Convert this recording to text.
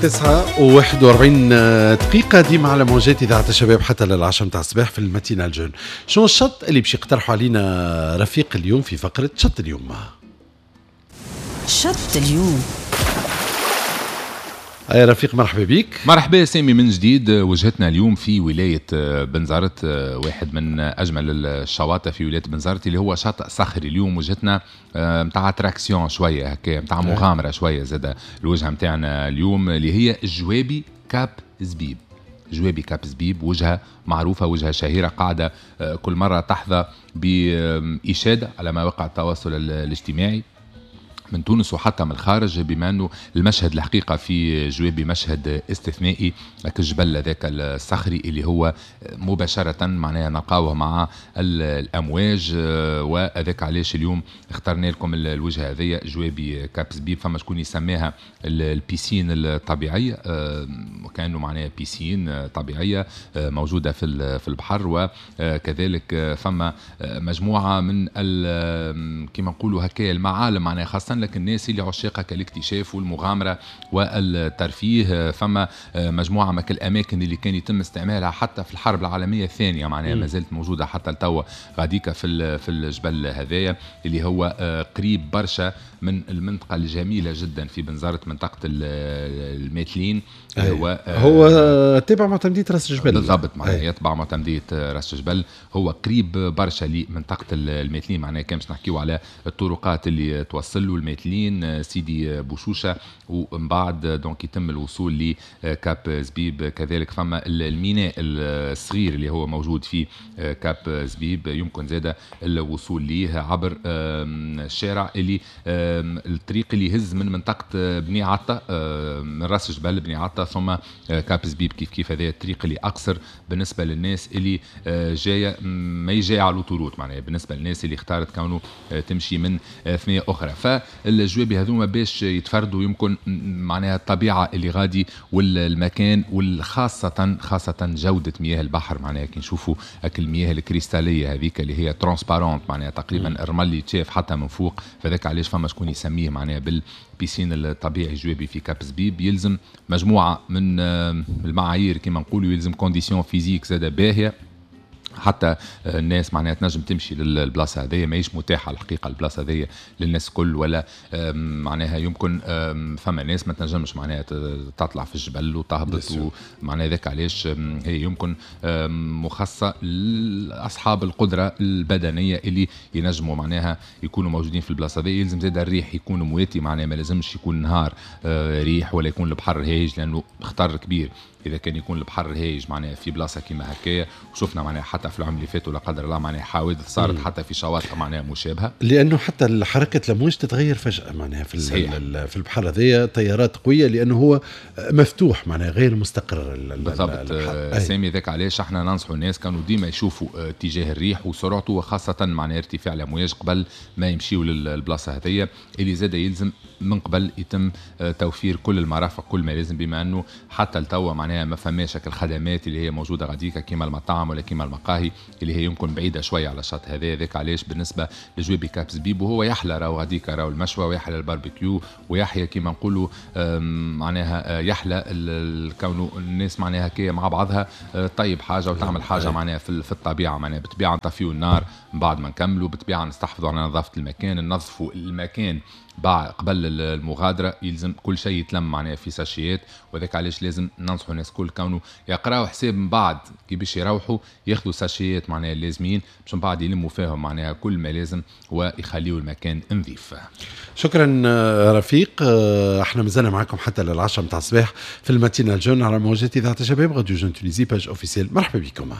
9:41 ديما على موجات إذاعة الشباب حتى للعشرة متاع الصباح في ال matinale jeune. شنو الشط اللي باش يقترحوا علينا رفيق اليوم في فقرة شط اليوم؟ شط اليوم. يا رفيق مرحبا بك. مرحبا سامي من جديد. وجهتنا اليوم في ولاية بنزرت، واحد من أجمل الشواطئ في ولاية بنزرت اللي هو شاطئ صخري. اليوم وجهتنا متاع attraction شوية هكا، متاع مغامرة شوية زادة. الوجهة متاعنا اليوم اللي هي جوابي كاب زبيب. جوابي كاب زبيب وجهة معروفة، وجهة شهيرة، قاعدة كل مرة تحظى بإشادة على مواقع التواصل الاجتماعي من تونس وحتى من الخارج، بما انه المشهد الحقيقة في جوابي مشهد استثنائي، لك الجبل هذاك الصخري اللي هو مباشرة معناها نلقاوه مع الامواج، وهذاك علاش اليوم اخترنا لكم الوجهة هذيا جوابي كاب زبيب. فما شكون يسميها ال piscine الطبيعية، وكانه معناها piscine طبيعية موجودة في البحر، وكذلك فما مجموعة من كما نقولوا هكا المعالم معناها خاصة لكن الناس اللي عشاقة كالاكتشاف والمغامرة والترفيه. فما مجموعة من الأماكن اللي كان يتم استعمالها حتى في الحرب العالمية الثانية معناها ما زالت موجودة حتى لتوا غاديكا في الجبل هذايا اللي هو قريب برشا من المنطقة الجميلة جدا في بنزرت، منطقة الماتلين. هو تبع معتمدية راس الجبل بالضبط، معناها يتبع معتمدية راس الجبل، هو قريب برشا لمنطقة الماتلين. معناها كان باش نحكيو على الطرقات اللي توصل له الماتلين، سيدي بوشوشة، ومن بعد donc يتم الوصول لكاب زبيب. كذلك فما الميناء الصغير اللي هو موجود في كاب زبيب، يمكن زادة الوصول ليه عبر الشارع اللي الطريق اللي يهز من منطقة بني عطا، من راس جبل بني عطا ثم كاب زبيب. كيف كيف هذا الطريق اللي أقصر بالنسبة للناس اللي جاية ما يجي على l'autoroute، معناها بالنسبة للناس اللي اختارت كونه تمشي من ثنية أخرى. فالجوابي هذوما باش يتفردوا يمكن معناها الطبيعة اللي غادي والمكان، والخاصة خاصة جودة مياه البحر. معناها كي نشوفوا المياه الكريستالية هذيك اللي هي transparente، معناها تقريبا الرمل اللي يتشاف حتى من فوق، فذاك علاش فما شكون يسميه معناها بال piscine الطبيعي جوابي في كاب زبيب. يلزم مجموعة من المعايير كما نقولوا، يلزم conditions physiques زادة باهية حتى الناس معناها تنجم تمشي للبلاصه هذيا. ماهيش متاحة الحقيقة البلاصة هذيا للناس الكل، ولا معناها يمكن فما ناس ما تنجمش معناها تطلع في الجبل وتهبط، ومعناها ذاك علاش هي يمكن مخصصة لاصحاب القدرة البدنية اللي ينجموا معناها يكونوا موجودين في البلاصة هذيا. يلزم زاد الريح يكون مواتي، معناها ما لازمش يكون نهار ريح ولا يكون البحر هايج، لانه خطر كبير اذا كان يكون البحر هايج معناها في بلاصة كيما هكايا. وشفنا معناها حتى في العام اللي فات ولا قدر الله معناها حوادث صارت حتى في شواطئ معناها مشابهة، لانه حتى حركة الامواج تتغير فجاة معناها في البحر هذايا، تيارات قوية لانه هو مفتوح معناها غير مستقر. بالضبط سامي، ذاك علاش احنا ننصحوا الناس كانوا ديما يشوفوا اتجاه الريح وسرعته، وخاصة معناها ارتفاع الامواج قبل ما يمشيوا للبلاصه هذيا، اللي زاد يلزم من قبل يتم توفير كل المرافق كل ما لازم، بما انه حتى لتوا معناها ما فماش الخدمات اللي هي موجودة غاديكا كيما المطاعم ولا كيما المقاهي اللي هي يمكن بعيدة شوية على الشط هذا. ذاك علاش بالنسبة لجوابي كاب زبيب، وهو يحلى راهو غاديكا راهو المشوى، ويحلى الباربيكيو، ويحيى كيما نقولوا معناها يحلى كونه الناس معناها كي مع بعضها طيب حاجة وتعمل حاجة معناها في الطبيعة. معناها بالطبيعة نطفيو النار من بعد ما نكملوا، بالطبيعة نستحفظوا على نظافة المكان، ننظفوا المكان بعد قبل المغادرة، يلزم كل شيء يتلم معناها في ساشيات. وذاك علاش لازم ننصحوا الناس كل كونه يقراوا حساب من بعد كي باش يروحوا ياخذوا ساشيات معناها اللازمين باش من بعد يلموا فيهم معناها كل ما لازم ويخليوا المكان نظيف. شكرا رفيق، احنا مازلنا معكم حتى للعشرة متاع الصباح في ال matinale jeune على موجات اذاعة الشباب راديو Jeune Tunisie page officielle. مرحبا بكم.